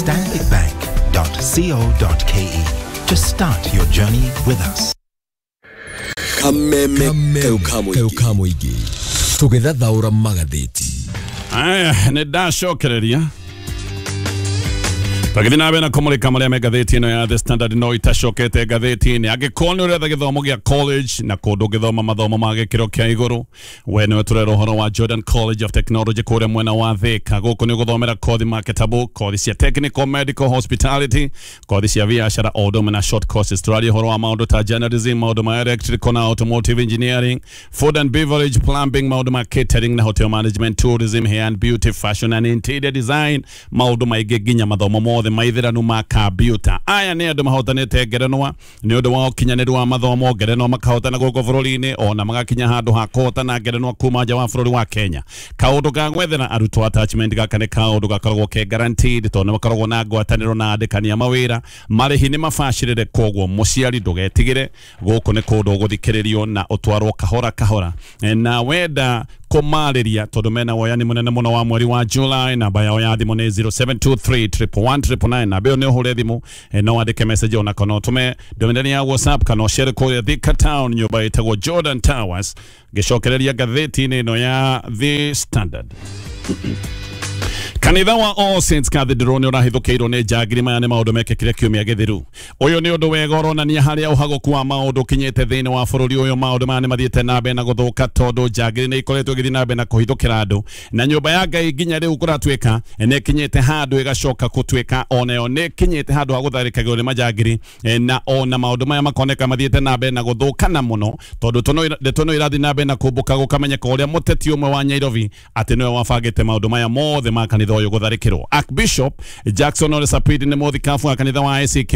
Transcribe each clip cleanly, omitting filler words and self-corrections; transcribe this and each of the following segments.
stanbicbank.co.ke to start your journey with us. Kameme kau ka mũingĩ tũgĩthathaũra magathĩti. Aya, nĩ ndacokereria tagĩthiĩ na mbere na kũmũrĩka marĩa me ngathĩti ĩno ya The Standard. No itacokete ngathĩti-inĩ, angĩkorwo nĩ ũretha gĩthomo gĩa college na kũndũ ũngĩthoma mathomo ma gĩkĩro kĩa igũrũ, we nĩwe tũrera ũhoro wa Jordan College of Technology kũrĩa mwena wa Thika. Gũkũ nĩ ũgũthomera kothi marketable, kothi cia technical, medical, hospitality, kothi cia biacara o ũndũ ũmwe na short courses. Tũraria ũhoro wa maũndũ ta journalism, maũndũ ma electrical na automotive engineering, food and beverage, plumbing, maũndũ ma catering na hotel management, tourism, hair and beauty, fashion and interior design, maũndũ maingĩ, nginya mathomo mothe maithĩranu ma kambiuta. Aya nĩ andũ mahotanĩte ngerenwa nĩ ũndũ wa ũkinyanĩru wa mathomo, ngerenwa makahotana gũkũ bũrũri-inĩ, ona magakinya handũ ha kũhotana ngerenwa kuma nja wa bũrũri wa Kenya. Kaũndũ ga gwethera arutwo attachment, gaka nĩ kaũndũ gakoragwo ke guaranteed tondũ nĩ makoragwo na ngwatanĩro na andĩkani a mawĩra, marĩhi nĩ mabacĩrĩre. Koguo mũciari ndũgetigĩre, gũkũ nĩ kũndũ ũgũthikĩrĩrio na ũtwarwo kahora kahora. Na wenda kũmarĩria, tondũ mena woyani mũnene mũno wa mweri wa July, namba yao ya thimũ nĩ 0723 111 999. Namba ĩyo nĩ ũhũre thimũ, no wandĩke message ona kana ũtũme ndũmĩrĩri ya WhatsApp kana ũcere kũrĩa Thika Town, nyũmba ĩtagwo Jordan Towers. Ngĩcokereria ngathĩti-inĩ ĩno ya The Standard, kanitha wa All Saints Cathedral nĩ ũrahithũkĩirwo nĩ njangiri. Maya nĩ maũndũ mekĩkire kiumia gĩthiru. Ũyũ nĩ ũndũ wega ũronania harĩa ũhagũku wa maũndũ ũkinyĩte thĩinĩ wa bũrũri ũyũ. Maũndũ maya nĩ mathiĩte na mbere na gũthũka tondũ njangiri nĩ ikoretwo igĩthiĩ na mbere na kũhithũkĩra andũ na nyũmba ya Ngai, nginya rĩu kũratuĩka nĩ ĩkinyĩte handũ ĩgacoka gũtuĩka onayo nĩ ĩkinyĩte handũ ha gũtharĩkagĩrwo nĩ majangiri. Na ona maũndũ maya makoneka mathiĩte na mbere na gũthũkana mũno tondũ ndeto no irathiĩ na mbere na kũmbũka, gũkamenyeka ũrĩa mũteti ũmwe wa Nairobi atĩ nĩwe wabangĩte maũndũ maya mothe ma kanitha ũyũ gũtharĩkĩrwo. Archbishop Jackson Ole Sapit nĩ mũthikabu wa kanitha wa ACK,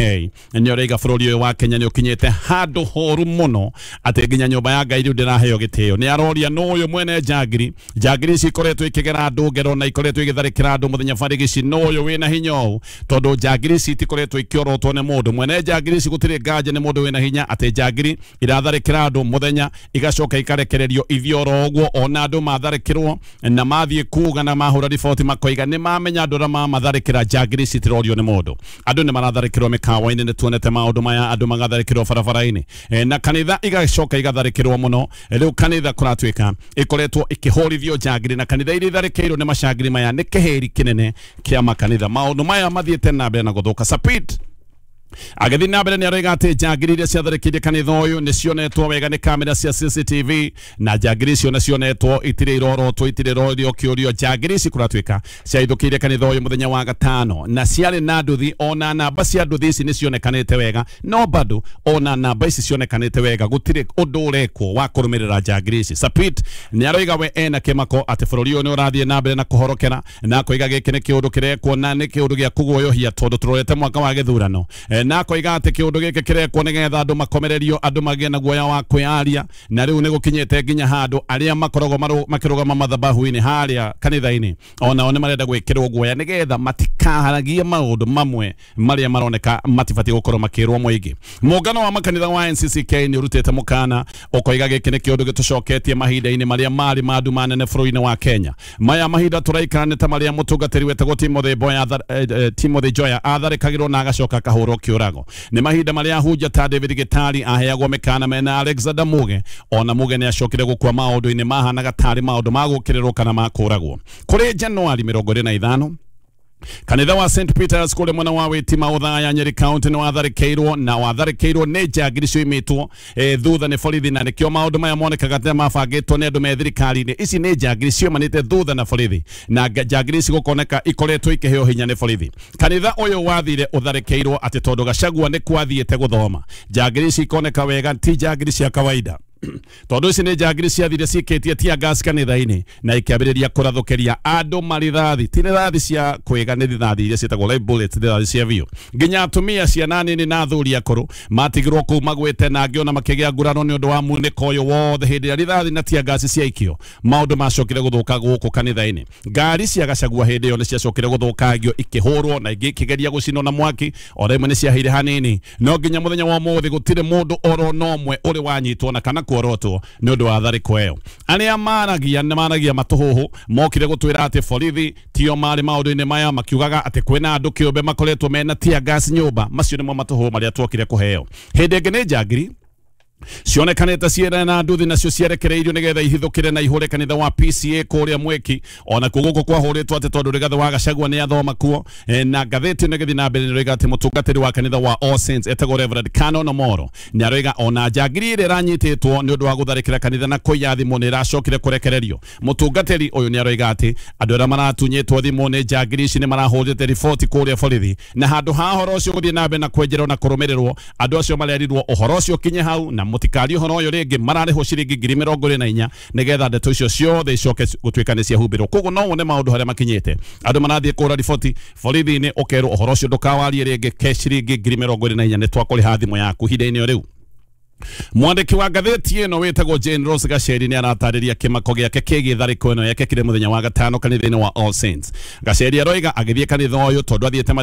nĩ ũraiga bũrũri ũyũ wa Kenya nĩ ũkinyĩte handũ horu mũno atĩ nginya nyũmba ya Ngai rĩu ndĩraheo gĩtĩo. Nĩ aroria nũ ũyũ mwene njangiri. Njangiri ici ikoretwo ikĩgera andũ ngero na ikoretwo igĩtharĩkĩra andũ mũthenya barigici. Nũ ũyũ wĩna hinya ũũ? Tondũ njangiri ici itikoretwo ikĩorotwo nĩ mũndũ. Mwene njangiri ici gũtirĩ nganja nĩ mũndũ wĩna hinya, atĩ njangiri iratharĩkĩra andũ mũthenya igacoka ikarekererio ithiĩ oro ũguo. Ona andũ matharĩkĩrwo na mathiĩ kuga na mahũra riboti, makoiga nĩ mamenya andũ arĩa mamatharĩkĩra, njangiri ici itirorio nĩ mũndũ. Andũ nĩ maratharĩkĩrwo mĩkawa-inĩ, nĩ tuonete maũndũ maya, andũ magatharĩkĩrwo barabara-inĩ, na kanitha igacoka igatharĩkĩrwo mũno. Rĩu kanitha kũratuĩka ĩkoretwo ĩkĩhũrithio njangiri, na kanitha iria itharĩkĩirwo nĩ macangiri maya nĩ kĩhĩri kĩnene kĩa makanitha. Maũndũ maya mathiĩte na mbere na gũthũka. Sapit agĩthiĩ na mbere nĩ aroiga atĩ njangiri iria ciatharĩkĩire kanitha ũyũ nĩ cionetwo wega nĩ kamera cia CCTV, na njangiri icio nĩ cionetwo, itirĩ irorotwo, itirĩ irorio kĩũrio. Njangiri ici kũratuĩka ciahithũkĩire kanitha ũyũ mũthenya wa gatano na ciarĩ na nduthi, ona namba cia nduthi ici nĩ cionekanĩte wega, no bado ona namba ici cionekanĩte wega gũtirĩ ũndũ ũrekwo wa kũrũmĩrĩra njangiri ici. Sapit nĩ aroiga we ena kĩmako atĩ bũrũri ũyũ nĩ ũrathiĩ na mbere na kũhorokera, na akoiga gĩkĩ nĩ kĩũndũ kĩrekwo na nĩ kĩũndũ gĩa kũguoyohia tondũ tũrorete mwaka wa gĩthurano. Na akoiga atĩ kĩũndũ gĩkĩ kĩrekwo nĩgetha andũ makomererio, andũ magĩe na guoya wa kwĩyaria, na rĩu nĩ gũkinyĩte nginya handũ arĩa makoragwo makĩrũgama mathabahu-inĩ harĩa kanitha-inĩ onao nĩ marenda gwĩkĩrwo guoya nĩgetha matikaharagie maũndũ mamwe marĩa maroneka matibatiĩ gũkorwo makĩrwo mũingĩ. Mũngano wa makanitha wa NCCK nĩ ũrutĩte mũkana ũkoiga gĩkĩ nĩ kĩũndũ gĩtũcoketie mahinda-inĩ marĩa marĩ ma nduma nene bũrũri-inĩ wa Kenya. Maya mahinda tũraikara nĩ ta marĩa mũtungatĩri wetagwo Timothy Boya Timothy Joya atharĩkagĩrwo na agacoka akahũrwo kĩũrago. Nĩ mahinda marĩa ahunjia ta David Gitari aheagwo mĩkana mena Alexander Muge, ona Muge nĩ acokire gũkua maũndũ-inĩ mahanaga tarĩ maũndũ ma gũkĩrĩrwo kana ma kũragwo. Kũrĩ Januari 25, kanitha wa St Peters kũrĩa mwena wa Witima, Othaya, Nyeri County nĩ watharĩkĩirwo, na watharĩkĩirwo nĩ njangiri cioimĩtwo thutha nĩ borithi, na nĩkĩo maũndũ maya monekaga ta mabangĩtwo nĩ andũ me thirikari-inĩ. Ici nĩ njangiri cioimanĩte thutha na borithi, na njangiri ici gũkoneka ikoretwo ikĩheo hinya nĩ borithi. Kanitha ũyũ wathire ũtharĩkĩirwo atĩ tondũ Gachagua nĩ kwathiĩte gũthoma. Njangiri ici ikoneka wega ti njangiri cia kawaida, tondũ ici nĩ njangiri ciathire cikĩtie tear gas kanitha-inĩ na ikĩambĩrĩria kũrathũkĩria andũ marithathi, ti rithathi cia kwĩga, nĩ rithathi iria ciĩtagwo live bullets, rithathi cia biũ. Nginya atumia, ciana nini na athuri akũrũ matigirwo kũu magwĩte, na angĩ ona makĩgĩa nguraro nĩ ũndũ wa munĩko ũyũ wothe hĩndĩ ĩrĩa rithathi na tear gas ciaikio. Maũndũ macokire gũthũka gũkũ kanitha-inĩ. Ngari cia Gachagua hĩndĩ ĩyo nĩ ciacokire gũthũkangio, ikĩhũrwo na ingĩ ikĩgeria gũcinwo na mwaki, o rĩmwe nĩ ciaheire hanini, no nginya mũthenya wa ũmũthĩ gũtirĩ mũndũ oro na ũmwe ũrĩ wanyitwo na kana kuorotwo nĩ ũndũ wa tharĩko ĩyo. Arĩa maragia nĩ maragia matũhũhũ mokire gũtwĩra atĩ borithi tio marĩ maũndũ-inĩ maya, makiugaga atĩ kwĩna andũ kĩũmbe makoretwo mena tear gas nyũmba. Macio nĩmo matũhũhũ marĩa tuokire kũheo. Hĩndĩ ĩngĩ nĩ njangiri cionekanĩte ciĩna na nduthi nacio ciarekereirio nĩgetha ihithũkĩre na ihũre kanitha wa PCA kũrĩa Mweki. Ona kuo gũkũ kwahũrĩtwo atĩ tondũ Rigathĩ wa Gachagua nĩ athoma kuo. Na ngathĩti ĩno ĩgĩthiĩ na mbere nĩroiga atĩ mũtungatĩri wa kanitha wa All Saints etagwo Reverend Canon Omoro nĩaroiga ona njangiri ĩrĩa ĩranyitĩtwo nĩ ũndũ wa gũtharĩkĩra kanitha na kũiya thimũ nĩ ĩracokire kũrekererio. Mũtungatĩri ũyũ nĩaroiga atĩ andũ arĩa maratunyĩtwo thimũ nĩ njangiri ici nĩ marahũrĩte riboti kũrĩa borithi, na handũ ha ũhoro ũcio gũthiĩ na mbere na kwenjerwo na kũrũmĩrĩrwo, andũ acio marerirwo ũhoro ũcio ũkinye hau na mũtikarie ũhoro ũyũ rĩngĩ. Mararĩhwo ciringi 24,000 nĩgetha ndeto icio ciothe icoke gũtuĩka nĩ ciahumbĩrwo. Koguo no wone maũndũ harĩa makinyĩte, andũ marathiĩ kũhũra riboti borithi-inĩ, ũkerwo ũhoro ũcio ndũkawarie rĩngĩ, ke ciringi 24,000 nĩ twakũrĩha thimũ yaku ihinda-inĩ o rĩu. Mwandĩki wa ngathĩti ĩno wĩtagwo Jane Rose Gacheri nĩ aratarĩria kĩmako gĩake kĩgiĩ tharĩko ĩno yekĩkire mũthenya wa gatano kanitha-inĩ wa All Saints. Gacheri aroiga agĩthiĩ kanitha ũyũ tondũ athiĩte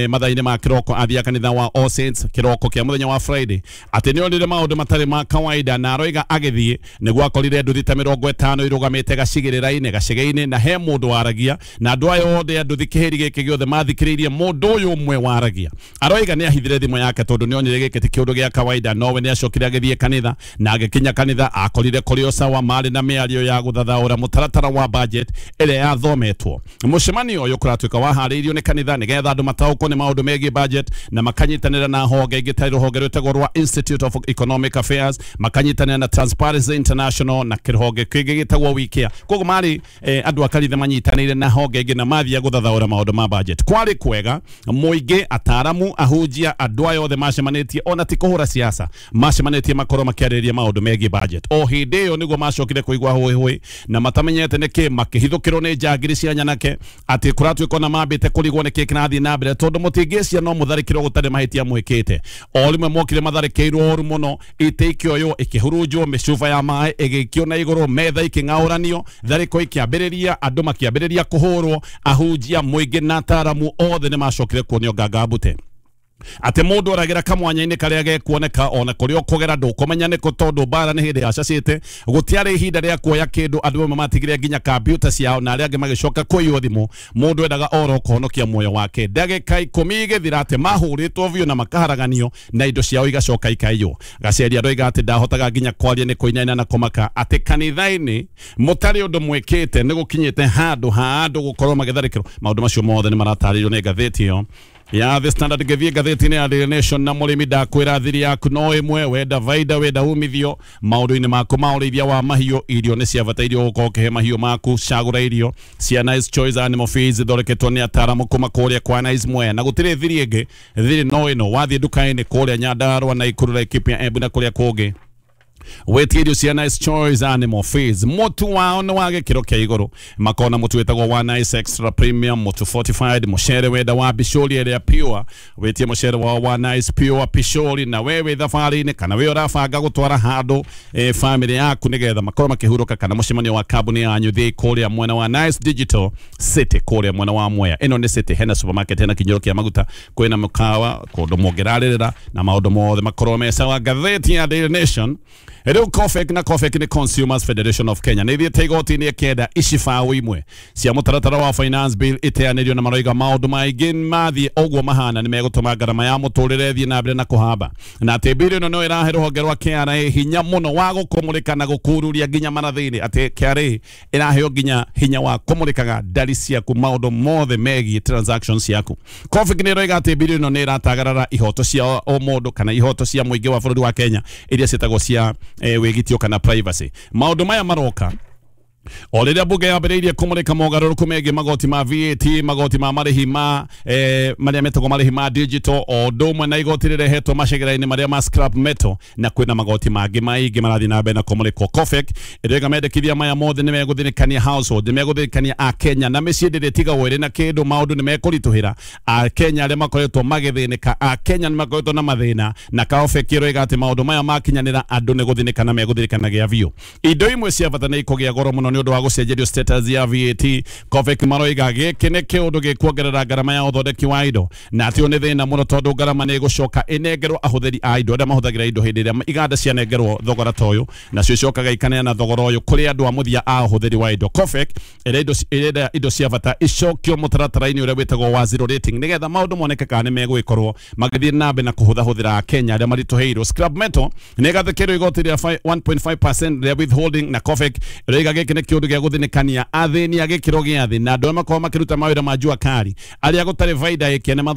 mathaa-inĩ ma kĩroko, athiĩ kanitha wa All Saints kĩroko kĩa mũthenya wa Friday, atĩ nĩ onire maũndũ matarĩ ma kawaida, na aroiga agĩthiĩ nĩguo akorire nduthi ta 50 irũgamĩte gacigĩrĩra-inĩ gacege-inĩ, na he mũndũ waragia, na andũ aya othe a nduthi kĩhĩri gĩkĩ gĩothe mathikĩrĩirie mũndũ ũyũ ũmwe waragia. Aroiga nĩ ahithire thimũ yake tondũ nĩ onire gĩkĩ ti kĩũndũ gĩa kawaida, nowe nĩ acokire agĩthiĩ kanitha, na agĩkinya kanitha akorire kũrĩ o sawa, marĩ na mĩario ya gũthathaũra mũtaratara wa budget ĩrĩa yathometwo. Mũcemanio ũyũ kũratuĩka waharĩirio nĩ kanitha nĩgetha andũ mataũkwo nĩ maũndũ megiĩ budget, na makanyitanĩra na honge ingĩ ta rũhonge rwĩtagwo rwa Institute of Economic Affairs, makanyitanĩra na Transparency International na kĩrũhonge kĩngĩ gĩtagwo WeCare. Koguo marĩ andũ a kanitha manyitanĩire na honge ingĩ na mathiĩ gũthathaũra maũndũ ma budget. Kwarĩ kwega, mũingĩ, ataaramu, ahunjia, andũ aya othe macemanĩtie, ona ti kũhũra siasa, macemanĩtie makorwo makĩarĩrĩria maũndũ megiĩ budget. O hĩndĩ ĩyo nĩguo macokire kũigua hũĩ na matamenyete nĩkĩ, makĩhithũkĩrwo nĩ njangiri cia nyanake, atĩ kũratuĩka ona mambĩte kũrigwo nĩkĩ kĩrathiĩ na mbere, tondũ mũtingĩcia no mũtharĩkĩrwo gũtarĩ mahĩtia mwĩkĩte. O rĩmwe mokire matharĩkĩirwo ũru mũno, itĩ ikĩoywo, ikĩhurunjwo, mĩcuba ya maĩ ĩgĩikio na igũrũ, metha ikĩng'aũranio, tharĩko ikĩambĩrĩria, andũ makĩambĩrĩria kũhũrwo, ahunjia, mũingĩ na ataaramu othe nĩ macokire kuonio nganga mbute. Atĩ mũndũ oragĩra kamwanya-inĩ karĩa gekuoneka, ona kũrĩa ũkũgera ndũkũmenya nĩkũ, tondũ mbara nĩ hĩndĩ yacacĩte. Gũtiarĩ ihinda rĩa kuoya kĩndũ, andũ amwe matigire nginya kambiuta ciao na arĩa angĩ magĩcoka kũiywo thimũ. Mũndũ endaga oro kũhonokia muoyo wake. Ndagĩka 10 igĩthira atĩ mahũrĩtwo biũ na makaharaganio na indo ciao igacoka ikaiywo. Gacheri aroiga atĩ ndahotaga nginya kwaria nĩ kũinaina na kũmaka, atĩ kanitha-inĩ mũtarĩ ũndũ mwĩkĩte nĩ gũkinyĩte handũ ha andũ gũkorwo magĩtharĩkĩrwo. Maũndũ macio mothe nĩ maratarĩrio nĩ ngathĩti ĩyo ya The Standard. Ngĩthiĩ ngathĩti-inĩ ya Daily Nation, na mũrĩmi ndakwĩra thiri yaku no ĩmwe, wenda vaida wenda umithio maũndũ-inĩ maku ma ũrĩithia wa mahiũ, irio nĩ cia bata, irio gũkorwo ũkĩhe mahiũ maku. Cagũra irio cia Nice Choice Animal Feeds ithondeketwo nĩ ataaramu kuma kũrĩa kwa Nice Mwea, na gũtirĩ thiri ĩngĩ, thiri no ĩno. Wathiĩ nduka-inĩ kũrĩa Nyandarua na Nakuru, Laikipia, Embu na kũrĩa kũngĩ, wetie irio cia Nice Choice Animal Feeds. Mũtu wao nĩ wa gĩkĩro kĩa igũrũ, makona mũtu wĩtagwo wa Nice Extra Premium, mũtu fortified, mũcere wenda wa bicũri ĩrĩa pure, wĩtie mũcere wao wa Nice Pure Pishori. Na we wĩ thabarĩ-inĩ kana wĩ ũrabanga gũtwara handũ family yaku nĩgetha makorwo makĩhurũka, kana mũcemanio wa kambuni yanyu, thiĩ kũrĩa mwena wa Nice Digital City kũrĩa mwena wa Mwea. Ĩno nĩ city, hena supermarket, hena kinyũro kĩa maguta, kwĩna mũkawa, kũndũ mũngĩrarĩrĩra na maũndũ mothe makorwo me sawa. Ngathĩti ya Daily Nation rĩu, COFEK, na COFEK nĩ Consumers Federation of Kenya, nĩ ithiĩte igoti-inĩ ĩkĩenda icibaũ imwe cia mũtaratara wa finance bill iteanĩrio, na maroiga maũndũ maingĩ mathiĩ ũguo mahana nĩ megũtũma ngarama ya mũtũrĩre ĩthiĩ na mbere na kũhamba, na atĩ bill ĩno no ĩrahe rũhonge rwa KRA hinya mũno wa gũkũmũrĩka na gũkururia nginya marathi-inĩ, atĩ KRA ĩraheo nginya hinya wa kũmũrĩkaga ndari ciaku, maũndũ mothe megiĩ transactions ciaku. COFEK nĩ ĩroiga atĩ bill ĩno nĩ ĩratagarara ihoto cia o mũndũ kana ihoto cia mũingĩ wa bũrũri wa Kenya iria ciĩtagwo cia wĩgitio kana privacy. Maũndũ maya maroka o rĩrĩa bunge yambĩrĩirie kũmũrĩka mogarũrũku megiĩ magoti ma VAT, magoti ma marĩhi ma marĩa metagwo marĩhi ma digital, o ũndũ ũmwe na igoti rĩrehetwo macegera-inĩ marĩa ma scrap metal, na kwĩna magoti mangĩ maingĩ marathiĩ na mbere na kũmũrĩkwo. COFEK ĩroiga mendekithia maya mothe nĩ megũthĩnĩkania household, nĩ megũthĩnĩkania Akenya na mĩciĩ ndĩrĩtigagwo ĩrĩ na kĩndũ, maũndũ nĩ mekũritũhĩra Akenya arĩa makoretwo magĩthĩnĩka. Akenya nĩ makoretwo na mathĩna, na COFEK ĩroiga atĩ maũndũ maya makinyanĩra andũ nĩ gũthĩnĩka na megũthĩnĩkanagia biũ. Indo imwe cia bata nĩ ikũgĩa goro mũno. nĩ ũndũ wa gũcenjerio status ya VAT. Cofek maroiga gĩkĩ nĩ kĩũndũ gĩkuongerera ngarama ya ũthondeki wa indo, na atĩ ũyũ nĩ thĩna mũno tondũ ngarama nĩ ĩgũcoka ĩnengerwo ahũthĩri a indo arĩa mahũthagĩra indo hĩndĩ ĩrĩa iganda cianengerwo thogora ta ũyũ, nacio icokaga ikaneana thogora ũyũ kũrĩ andũ a mũthia a ũhũthĩri wa indo. Cofek ĩrenda indo cia bata icokio mũtaratara-inĩ ũrĩa wĩtagwo wa zero rating nĩgetha maũndũ moneke kana nĩ megũgĩkorwo magĩthiĩ na mbere na kũhũthahũthĩra Akenya arĩa maritũhĩirwo. Scrap metal nĩ ĩgathĩkĩrwo igoti rĩa 1.5% rĩa withholding, na Cofek ĩroiga gĩkĩ nĩ kĩũndũ gĩa gũthinĩkania athĩni a gĩkĩro gĩa thĩ na andũ arĩa makoragwo makĩruta mawĩra ma jua kari arĩa gũtarĩ baida ĩkĩene.